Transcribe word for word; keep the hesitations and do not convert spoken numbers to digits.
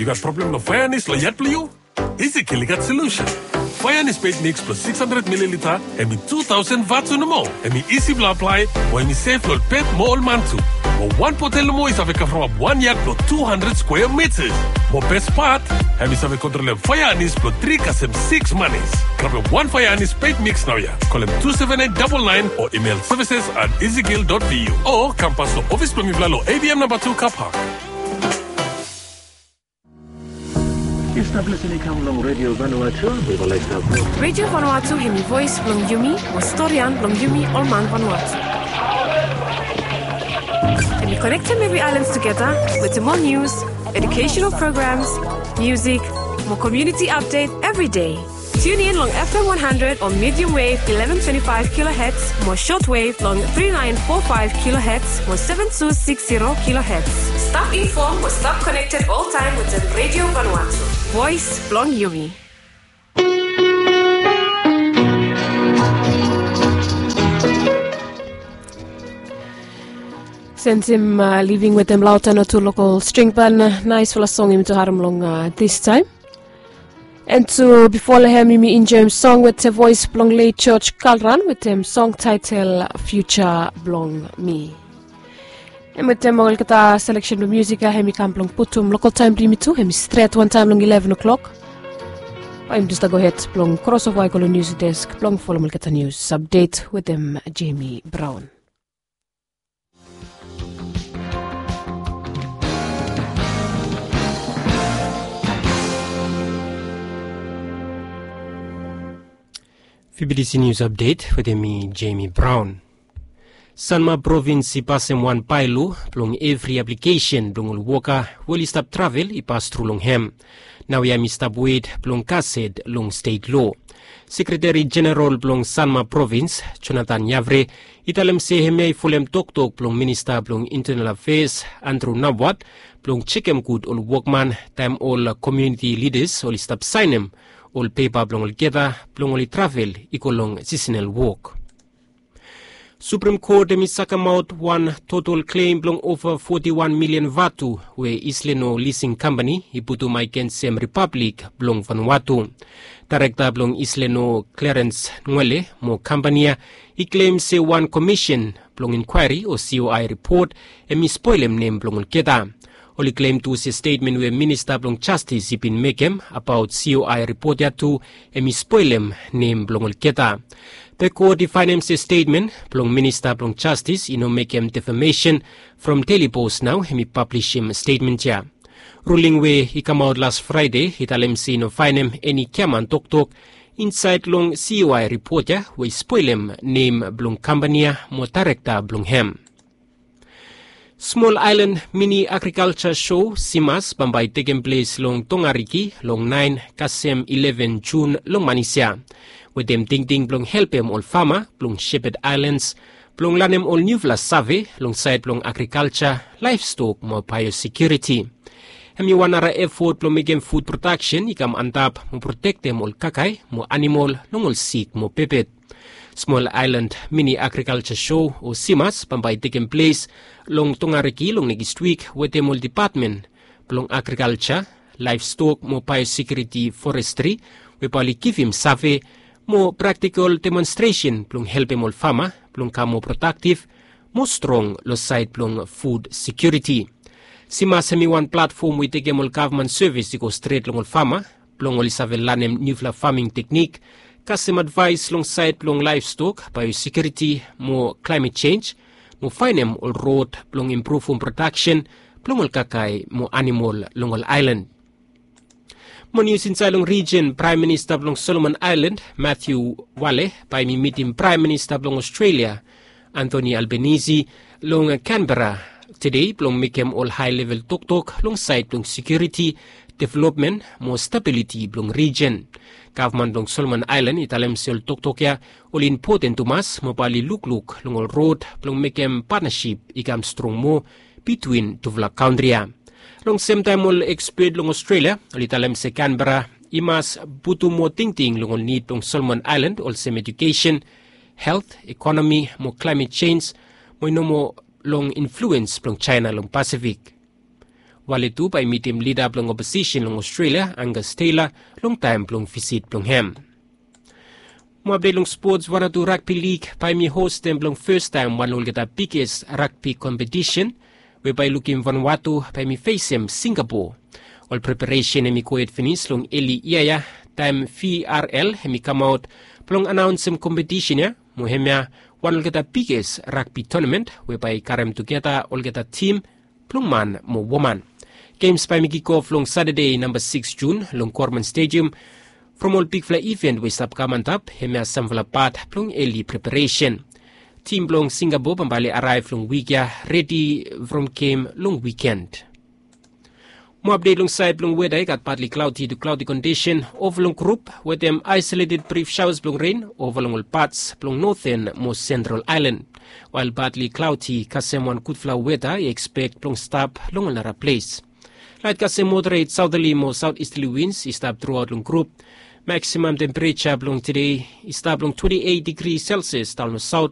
Yu gat problem long faeanis long yat blong yu? Ezekiel i gat solusen. Faeanis pet miks blong six hundred mililita, hem i two thousand vatu nomo. Hem i isi blong aplae, mo hem i sef long ol pet mo ol man tu. Mo wan botel nomo i save kavrapap wan yat blong two hundred square meters. Mo bes pat, hem i save kontrolem faeanis blong tri kasem six manis. Grabem wan faeanis pet miks naoia. Kolem two seven eight double nine o email services at ezekiel dot v u. O kam pas long ofis blong mifala long A V M namba tu car park. Yu stap lisin i kam long Radio Vanuatu, mi go laik stap. Radio Vanuatu hem i voes blong yumi, mo storian blong yumi ol man Vanuatu. Hem i konektem evri aelan tugeta wetem ol nius, educational programs, musik, mo community update evri dei. Tune in long F M one hundred o medium wave eleven twenty-five kilohertz, mo short wave long three nine four five kilohertz, mo seven two six zero kilohertz. Stap inform mo stap connected all time wetem Radio Vanuatu. Voes blong yumi. Sensim, uh, living wetem Lautana tu lokal string ban, uh, naesfala song yumi tu harem long, uh, this time. And tu bifo long hem yumi enjoem song wetem voes blong late George Kalran wetem song taetel Future Blong Mi. Hem wetem olgeta seleksen blong musik ya hem i kam blong putum lokal taem blong yumi tu hem i stret wantaem long eleven o'clock. Bae yumi tu stap gohed blong kros ova i go long nius desk blong folem olgeta nius apdet wetem Jamie Brown. V B T C News Update wetem mi, Jamie Brown. Sanma Provins i pasem wan baelo blong evri aplikesen blong ol woka we oli stap travel i pas tru long hem. Naoia hem i stap wet blong kasem long stet lo. Sekreteri Jeneral blong Sanma Provins, Jonathan Yavre, i talem se hemia i folem toktok blong Minista blong Internal Affairs, Andrew Nabwat, blong jekem gud ol wokman taem ol komuniti lidas oli stap saenem ol pepa blong olgeta blong oli travel i go long sisenal wok. Suprem Kot hem i sakemaot wan total klem blong ova foti wan milian vatu we Isleno Lising Kampani i putum agensem Ripablik blong Vanuatu. Daerekta blong Isleno Clarence Nwele mo kampani ya i klem se wan komisen blong inkwaeri o C O I ripot hem i spolem nem blong olgeta. Oli klem tu se stetmen we Minista blong Jastis i bin mekem abaot C O I ripot ya tu hem i spolem nem blong olgeta. Be kot i faenem se stetmen blong Minista blong Jastis i no mekem defamesen. From Daily Post nao hem i pablisim stetmen ya. Ruling we i kamaot las Fraede i talem se i no faenem eni giaman toktok insaed long C O I ripot ya we i spolem nem blong kampani ya mo daerekta blong hem. Smol Aelan Mini Agrikalja Sho, Simas, bambae i tekem ples long Tongariki long naen kasem eleven Jun long manis ya. Wetem tingting blong helpem ol fama blong Shepherd Islands blong lanem ol niufala save long saed blong agrikalja, laevstok mo baeosekiuriti. Hem i wan nara efot blong mekem fud prodaksen i kam antap mo protektem ol kakae mo anamol long ol sik mo pepet. Smol Aelan Mini Agrikalja Sho o Simas bambae i tekem ples long Tongariki long nekis wik wetem ol depatmen blong agrikalja, laevstok mo baeosekiuriti, forestri, we bae oli givim save mo praktikol demonstresen blong helpem ol fama blong kam moa prodaktif, moa strong long saed blong fud sekiuriti. Simas hem i wan platfom we i tekem ol gavman sevis i go stret long ol fama blong oli save lanem niufala faming teknik, kasem advaes long saed blong laevstok, baeosekiuriti mo klaemet jenj, mo faenem ol rod blong impruvum prodaksen blong ol kakae mo anamol long ol aelan. Mo nius insaed long rijen, Praem Minista blong Solomon Aelan, Matthew Wale, bae hem i mitim Praem Minista blong Ostrelia, Anthony Albanese, long Canberra tede blong mekem ol hae level toktok long saed blong sekiuriti, developmen mo stabiliti blong rijen. Gavman blong Solomon Aelan i talem se ol toktok ya oli impoten tumas mo bae oli lukluk long ol rod blong mekem patnasip i kam strong moa bitwin tufala kantri ya. Long semtaem ol ekspet long Ostrelia oli talem se Canberra i mas putum moa tingting long ol nid blong Solomon Aelan olsem ejukesen, helt, ekonomi mo klaemet jenj, mo i no moa long influens blong Jaena long Pasifik. Wale tu bae i mitim lida blong oposisen long Australia, Angus Taylor, long taem blong visit blong hem. Mo apdet long spots, Vanuatu Rugby League bae mi hostem blong fastaem wan olgeta biges ragbi kompetisen we bae i lukim Vanuatu bae mi fesem Singapore. Ol preparesen hem i gohed finis long eli yia ya, taem V R L hem i kamaot blong anaonsem kompetisen ya, mo hemia wan olgeta biges ragbi tonamen we bae i karem tugeta olgeta tim blong man mo woman. Gems bae mi kikof long Satade namba sikis Jun long Gorman Stadium. From ol bigfala iven we i stap kam antap, hemia samfala pat blong eli preparesen. Tim blong Singapore bambae oli araev long wik ya, redi from gem long wiken. Mo apdet long saed blong weda, i gat partly cloudy to cloudy kondisen ova long grup wetem aesoleted brif shaoas blong ren ova long ol pats blong noten mo sentral aelan. Wael partly cloudy kasem wan gudfala weda i ekspek blong stap long ol nara ples. Laet kasem moderet saoterli mo saotistali wins i stap truaot long grup. Maksimam tempereja blong tede i stap long twenti eit digri Celsius daon long saot.